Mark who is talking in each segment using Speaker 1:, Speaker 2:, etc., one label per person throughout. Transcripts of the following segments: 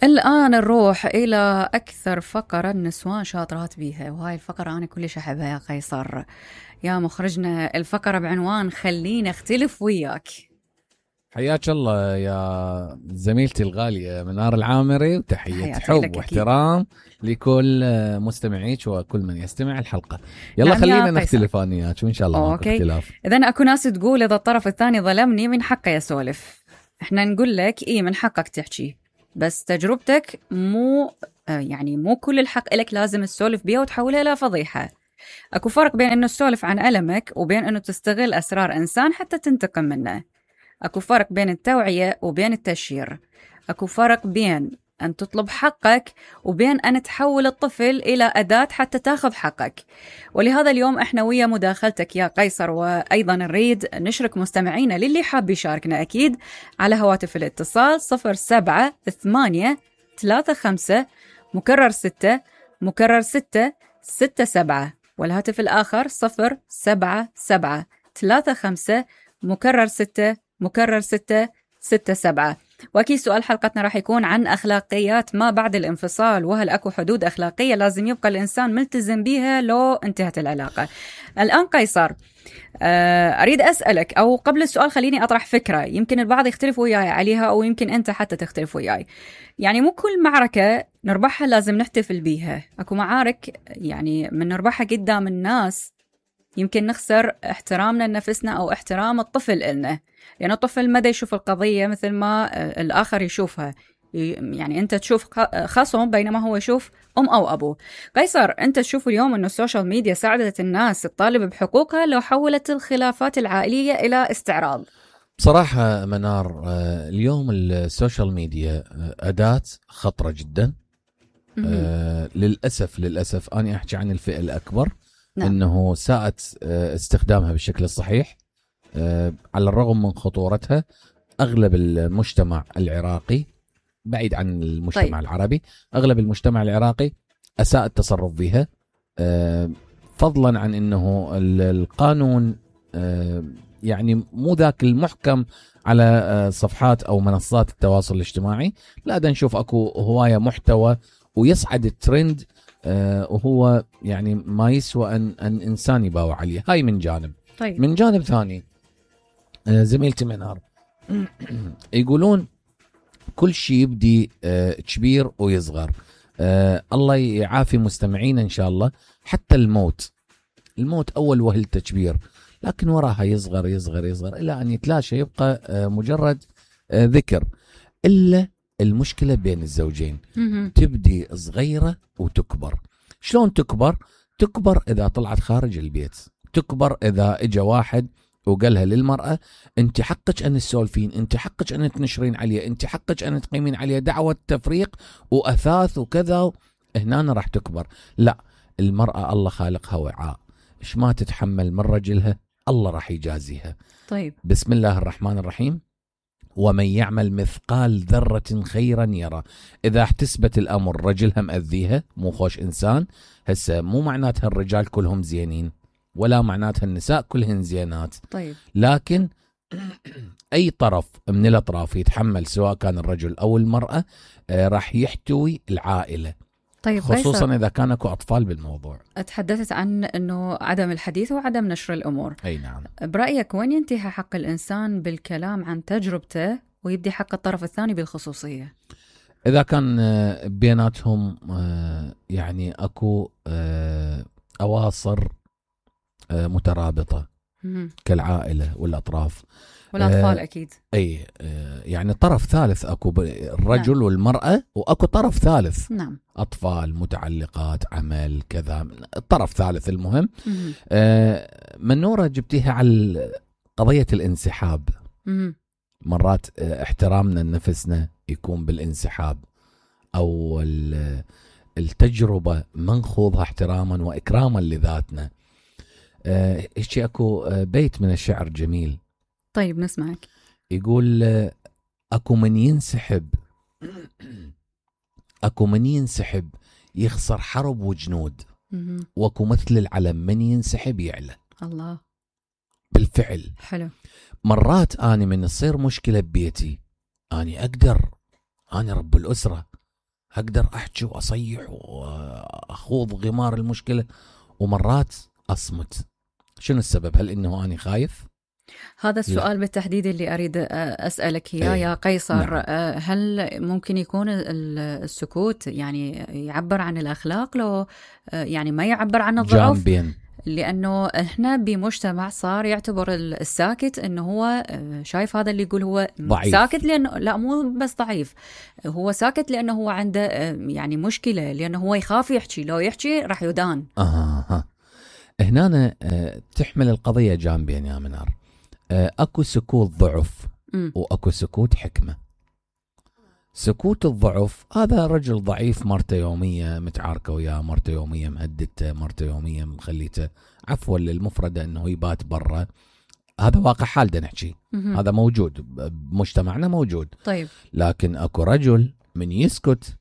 Speaker 1: الآن نروح إلى أكثر فقرة النسوان شاطرات بيها، وهاي الفقرة أنا كلش أحبها يا قيصر. يا مخرجنا، الفقرة بعنوان خليني أختلف وياك.
Speaker 2: حياك الله يا زميلتي الغالية منار العامري، وتحية حب واحترام لكل مستمعيك وكل من يستمع الحلقة. يلا نعم خلينا نختلف أنا وياك وإن شاء الله ماكو اختلاف.
Speaker 1: إذن أكو ناس تقول إذا الطرف الثاني ظلمني من حقه يسولف. إحنا نقول لك إيه، من حقك تحكي، بس تجربتك مو كل الحق إلك لازم تسولف بيها وتحولها إلى فضيحة. أكو فرق بين إنه تسولف عن ألمك وبين إنه تستغل أسرار إنسان حتى تنتقم منه. أكو فرق بين التوعية وبين التشهير. أكو فرق بين أن تطلب حقك وبين أن تحول الطفل إلى أداة حتى تاخذ حقك. ولهذا اليوم إحنا ويا مداخلتك يا قيصر، وأيضا نريد نشرك مستمعينا للي حاب يشاركنا أكيد على هواتف الاتصال 07-8-3-5 مكرر 6 مكرر 6-6-7، والهاتف الآخر 077-3-5 مكرر 6 مكرر 6-6-7. وأكيد سؤال حلقتنا راح يكون عن أخلاقيات ما بعد الانفصال، وهل أكو حدود أخلاقية لازم يبقى الإنسان ملتزم بيها لو انتهت العلاقة. الآن قيصر، أريد أسألك، أو قبل السؤال خليني أطرح فكرة يمكن البعض يختلف وياي عليها، أو يمكن أنت حتى تختلف وياي. يعني مو كل معركة نربحها لازم نحتفل بيها. أكو معارك يعني من نربحها قدام الناس يمكن نخسر احترامنا لنفسنا أو احترام الطفل إلنا، لأن الطفل ما دا يشوف القضية مثل ما الآخر يشوفها. يعني أنت تشوف خصم بينما هو يشوف أم أو أبو. قيصر، أنت تشوف اليوم أنه السوشيال ميديا ساعدت الناس تطالب بحقوقها لو حولت الخلافات العائلية إلى استعراض؟
Speaker 2: بصراحة منار، اليوم السوشيال ميديا أداة خطرة جدا. للأسف أنا أحكي عن الفئة الأكبر. نعم. أنه ساءت استخدامها بالشكل الصحيح. على الرغم من خطورتها، أغلب المجتمع العراقي، بعيد عن المجتمع العربي، أغلب المجتمع العراقي أساء التصرف بها، فضلا عن أنه القانون يعني مو ذاك المحكم على صفحات أو منصات التواصل الاجتماعي. لا، دا نشوف أكو هواية محتوى ويصعد الترند، وهو يعني ما يسوى أن إنسان يباوع عليه. هاي من جانب. من جانب ثاني، زميلتي منار يقولون كل شيء يبدي كبير ويصغر. الله يعافي مستمعين إن شاء الله. حتى الموت أول وهلته كبير، لكن وراها يصغر يصغر يصغر إلى أن يتلاشى، يبقى مجرد ذكر. إلا المشكلة بين الزوجين، تبدي صغيرة وتكبر. شلون تكبر إذا طلعت خارج البيت، تكبر إذا إجا واحد وقالها للمرأة أنت حقك أن تسولفين، أنت حقك أن تنشرين عليه، أنت حقك أن تقيمين عليه دعوة تفريق وأثاث وكذا. هنا راح تكبر. لا، المرأة الله خالقها وعاء، إيش ما تتحمل من رجلها الله راح يجازيها. بسم الله الرحمن الرحيم. ومن يعمل مثقال ذرة خيرا يرى. إذا احتسبت الأمر رجلها مأذيها، مو خوش إنسان، هسه مو معناتها الرجال كلهم زينين، ولا معناتها النساء كلهن زينات. لكن أي طرف من الأطراف يتحمل، سواء كان الرجل أو المرأة، راح يحتوي العائلة. خصوصا إذا كان اكو أطفال بالموضوع.
Speaker 1: تحدثت عن أنه عدم الحديث وعدم نشر الأمور.
Speaker 2: أي نعم.
Speaker 1: برأيك وين ينتهي حق الإنسان بالكلام عن تجربته ويبدي حق الطرف الثاني بالخصوصية؟
Speaker 2: إذا كان بيناتهم يعني أكو أواصر مترابطة كالعائلة والأطراف
Speaker 1: والأطفال أكيد.
Speaker 2: أي يعني طرف ثالث، أكو الرجل نعم. والمرأة، وأكو طرف ثالث.
Speaker 1: نعم.
Speaker 2: أطفال، متعلقات، عمل، كذا، الطرف ثالث. المهم منورة جبتيها على قضية الانسحاب. مرات احترامنا لنفسنا يكون بالانسحاب، أو التجربة منخوضها احتراما وإكراما لذاتنا. إيش أكو بيت من الشعر جميل.
Speaker 1: نسمعك.
Speaker 2: يقول أكو من ينسحب يخسر حرب وجنود، وأكو مثل العلم من ينسحب يعلى.
Speaker 1: الله.
Speaker 2: بالفعل.
Speaker 1: حلو.
Speaker 2: مرات أنا من تصير مشكلة ببيتي، أنا أقدر، أنا رب الأسرة، اقدر احكي واصيح واخوض غمار المشكله، ومرات اصمت. شنو السبب؟ هل انه اني خايف؟
Speaker 1: هذا السؤال بالتحديد اللي أريد أسألك إياه يا قيصر.
Speaker 2: نعم.
Speaker 1: هل ممكن يكون السكوت يعني يعبر عن الأخلاق لو يعني ما يعبر عن الضعف؟
Speaker 2: جانبين.
Speaker 1: لأنه إحنا بمجتمع صار يعتبر الساكت إنه هو شايف هذا اللي يقول هو
Speaker 2: ضعيف.
Speaker 1: ساكت لأنه لا، مو بس ضعيف، هو ساكت لأنه هو عنده يعني مشكلة، لأنه هو يخاف يحكي، لو يحكي راح يدان.
Speaker 2: هنا تحمل القضية جانبين يا منار. اكو سكوت ضعف واكو سكوت حكمة. سكوت الضعف هذا رجل ضعيف، مرته يومية متعاركة وياه، مرته يومية مهددته، مرته يومية مخليته عفوا للمفردة انه يبات برا. هذا واقع حال دا نحكي، هذا موجود بمجتمعنا موجود.
Speaker 1: طيب.
Speaker 2: لكن اكو رجل من يسكت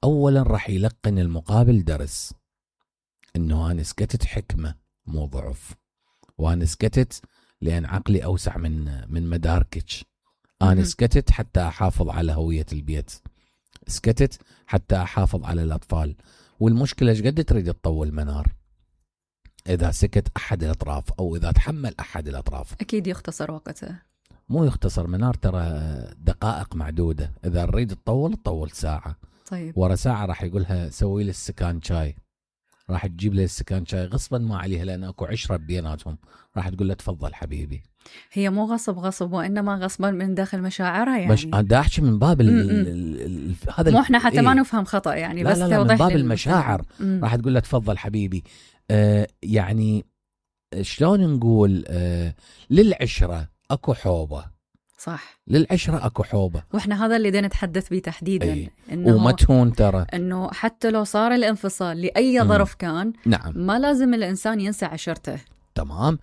Speaker 2: اولا راح يلقن المقابل درس، انه انا سكتت حكمة مو ضعف، وانا سكتت لان عقلي اوسع من مداركك، انا سكتت حتى احافظ على هوية البيت، سكتت حتى احافظ على الاطفال. والمشكلة ايش قد تريد تطول منار؟ اذا سكت احد الاطراف او اذا تحمل احد الاطراف
Speaker 1: اكيد يختصر وقته.
Speaker 2: مو يختصر منار، ترى دقائق معدودة. اذا نريد تطول ساعة.
Speaker 1: طيب.
Speaker 2: ورا ساعة راح يقولها سوي لي السكان شاي، راح تجيب لي السكان شاي غصبا ما عليها لان اكو عشرة بيناتهم، راح تقول له تفضل حبيبي.
Speaker 1: هي مو غصب وانما غصبا من داخل مشاعرها يعني.
Speaker 2: مش دا احكي من باب
Speaker 1: هذا مو احنا حتى ما نفهم خطأ يعني،
Speaker 2: لا
Speaker 1: بس
Speaker 2: لا
Speaker 1: توضح
Speaker 2: من باب المشاعر. راح تقول له تفضل حبيبي. يعني شلون نقول، للعشرة اكو حوبة.
Speaker 1: صح،
Speaker 2: للعشرة اكو حوبة،
Speaker 1: واحنا هذا اللي بدنا نتحدث به تحديدا.
Speaker 2: وما تهون ترى
Speaker 1: انه حتى لو صار الانفصال لاي ظرف كان،
Speaker 2: نعم،
Speaker 1: ما لازم الانسان ينسى عشرته.
Speaker 2: تمام.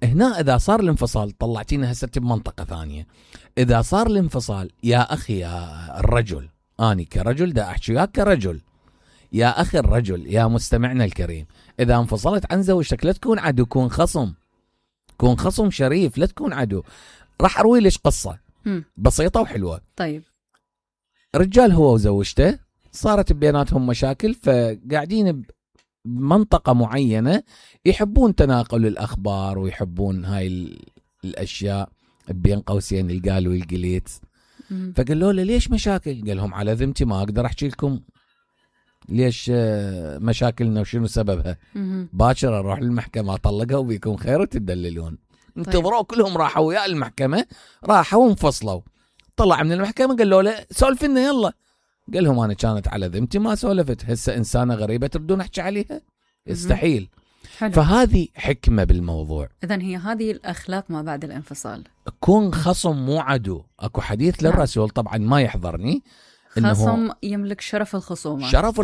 Speaker 2: هنا اذا صار الانفصال طلعتينا هسه بمنطقة ثانية. اذا صار الانفصال يا اخي يا الرجل، اني كرجل دا احكي وياك كرجل، يا اخي الرجل يا مستمعنا الكريم، اذا انفصلت عن زوجتك لا تكون عدو، كون خصم، كون خصم شريف، لا تكون عدو. راح اروي لك قصة بسيطة وحلوة.
Speaker 1: طيب.
Speaker 2: رجال هو وزوجته صارت بيناتهم مشاكل، فقاعدين بمنطقة معينة يحبون تناقل الأخبار ويحبون هاي الأشياء بين قوسين القال والقليت. فقالوا له ليش مشاكل؟ قال لهم على ذمتي ما أقدر أحكي لكم ليش مشاكلنا وشنو سببها. باكر أروح للمحكمة أطلقها وبيكون خير وتدللون. انتظروا كلهم راحوا ويا المحكمة، راحوا وانفصلوا. طلع من المحكمة قال له سولف لنا يلا. قال لهم أنا كانت على ذمتي ما سولفت، هسه إنسانة غريبة تردون أحكي عليها؟ يستحيل.
Speaker 1: حلو.
Speaker 2: فهذه حكمة بالموضوع.
Speaker 1: إذن هي هذه الأخلاق ما بعد الانفصال.
Speaker 2: كون خصم مو عدو. أكو حديث للرسول طبعا ما يحضرني،
Speaker 1: خصم يملك شرف الخصومة.
Speaker 2: شرف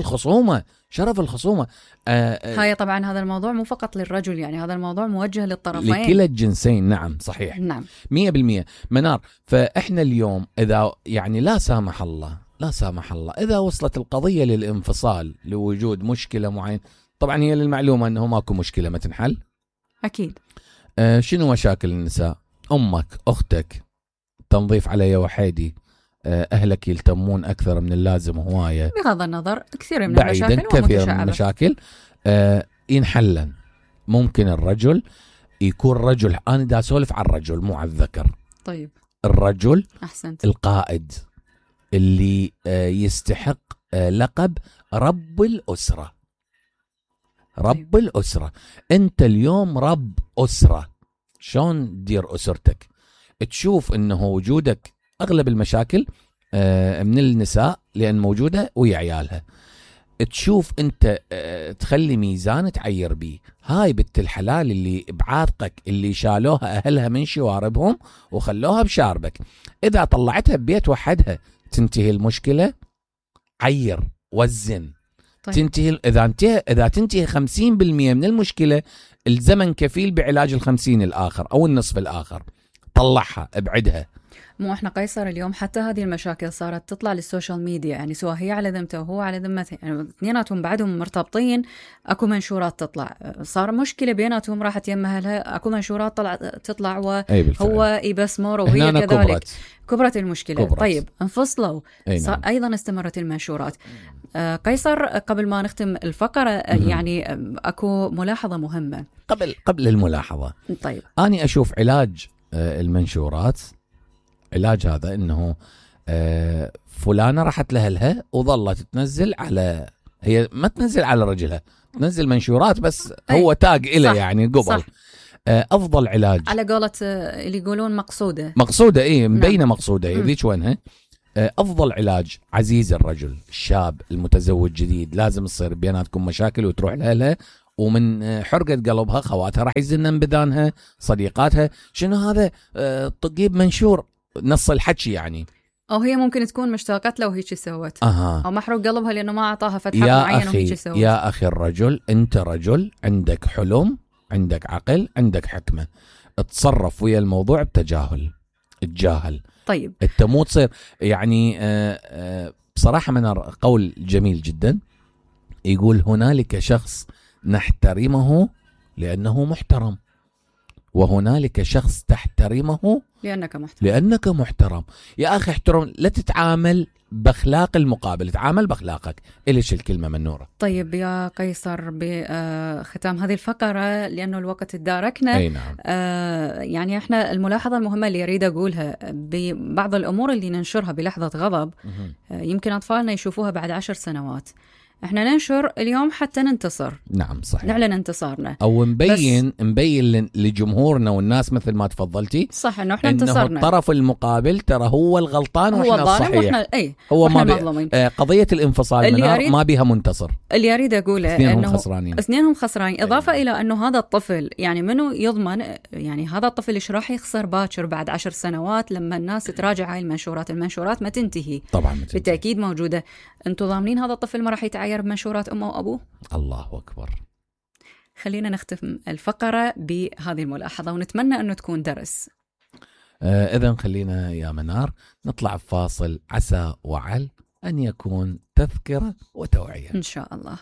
Speaker 2: الخصومة.
Speaker 1: هاي طبعا هذا الموضوع مو فقط للرجل، يعني هذا الموضوع موجه للطرفين،
Speaker 2: لكلا الجنسين. نعم صحيح،
Speaker 1: نعم
Speaker 2: 100% منار. فإحنا اليوم إذا يعني لا سامح الله إذا وصلت القضية للانفصال لوجود مشكلة معينة، طبعا هي للمعلومة أنه ماكو مشكلة ما تنحل
Speaker 1: أكيد.
Speaker 2: شنو مشاكل النساء؟ أمك، أختك، تنظيف علي وحيدي، أهلك يلتمون أكثر من اللازم هواية،
Speaker 1: بغض النظر كثير من
Speaker 2: بعيدا
Speaker 1: المشاكل
Speaker 2: كثير من المشاكل ينحلن. ممكن الرجل يكون رجل، أنا دا أسولف عن الرجل مو عن الذكر.
Speaker 1: طيب.
Speaker 2: الرجل
Speaker 1: أحسنت.
Speaker 2: القائد اللي يستحق لقب رب الأسرة. رب الأسرة. أنت اليوم رب أسرة. شلون تدير أسرتك؟ تشوف أنه وجودك أغلب المشاكل من النساء لأن موجودة ويا عيالها. تشوف أنت تخلي ميزان تعير بيه. هاي بنت الحلال اللي بعاتقك اللي شالوها أهلها من شواربهم وخلوها بشاربك، إذا طلعتها ببيت وحدها تنتهي المشكلة. عير، وزن.
Speaker 1: طيب.
Speaker 2: تنتهي إذا تنتهي 50% من المشكلة، الزمن كفيل بعلاج 50 الآخر أو النصف الآخر. طلعها ابعدها.
Speaker 1: مو احنا قيصر اليوم حتى هذه المشاكل صارت تطلع للسوشيال ميديا، يعني سواء هي على ذمته وهو على ذمته، يعني اثنيناتهم بعدهم مرتبطين، اكو منشورات تطلع، صار مشكله بيناتهم راحت يمها لها، اكو منشورات تطلع وهو يبسمر وهي كذلك، كبرت المشكله. كبرت. طيب انفصلوا، نعم. ايضا استمرت المنشورات. قيصر قبل ما نختم الفقره يعني اكو ملاحظه مهمه
Speaker 2: قبل الملاحظه.
Speaker 1: طيب
Speaker 2: اني اشوف علاج المنشورات، علاج هذا انه فلانه راحت لها وظلت تنزل على، هي ما تنزل على رجلها، تنزل منشورات بس هو تاج إله يعني قبل. افضل علاج
Speaker 1: على قولة اللي يقولون مقصوده
Speaker 2: مبينه.
Speaker 1: نعم.
Speaker 2: مقصوده ذيك وينها. افضل علاج عزيز الرجل الشاب المتزوج جديد، لازم تصير بيناتكم مشاكل وتروح لها ومن حرقة قلبها خواتها راح يزنن بذانها، صديقاتها شنو هذا تجيب منشور نص الحكي يعني،
Speaker 1: او هي ممكن تكون مشتاقت له وهيك سوت او محروق قلبها لانه ما اعطاها فتحه معينه وهيك سوت.
Speaker 2: يا اخي الرجل، انت رجل عندك حلم، عندك عقل، عندك حكمه، اتصرف ويا الموضوع بتجاهل، اتجاهل.
Speaker 1: طيب
Speaker 2: انت مو تصير يعني بصراحه من قول جميل جدا يقول هنالك شخص نحترمه لأنه محترم، وهنالك شخص تحترمه لأنك محترم. يا أخي احترم، لا تتعامل بأخلاق المقابل، تعامل بأخلاقك. إليش الكلمة من نورة.
Speaker 1: طيب يا قيصر، بختام هذه الفقرة لأنه الوقت تداركنا،
Speaker 2: أي نعم.
Speaker 1: يعني احنا الملاحظة المهمة اللي أريد أقولها ببعض الأمور اللي ننشرها بلحظة غضب يمكن أطفالنا يشوفوها بعد 10 سنوات، احنا ننشر اليوم حتى ننتصر.
Speaker 2: نعم صحيح.
Speaker 1: نعلن انتصارنا
Speaker 2: او نبين لجمهورنا والناس مثل ما تفضلتي
Speaker 1: صح انه احنا انتصرنا،
Speaker 2: انه الطرف المقابل ترى هو الغلطان واحنا الصحيح.
Speaker 1: هو ما مظلومين.
Speaker 2: قضية الانفصال ما بيها منتصر.
Speaker 1: اللي اريد اقوله انه
Speaker 2: اثنينهم
Speaker 1: خسرانين. اضافة الى انه هذا الطفل يعني منو يضمن، يعني هذا الطفل ايش راح يخسر باكر بعد 10 سنوات لما الناس تراجع هاي المنشورات ما تنتهي.
Speaker 2: طبعا ما تنتهي.
Speaker 1: بالتأكيد موجودة. انتم ضامنين هذا الطفل ما راح يتعاير بمنشورات امه وابوه؟
Speaker 2: الله اكبر.
Speaker 1: خلينا نختم الفقرة بهذه الملاحظة ونتمنى انه تكون درس.
Speaker 2: اذا خلينا يا منار نطلع فاصل، عسى وعل ان يكون تذكرة وتوعية
Speaker 1: ان شاء الله.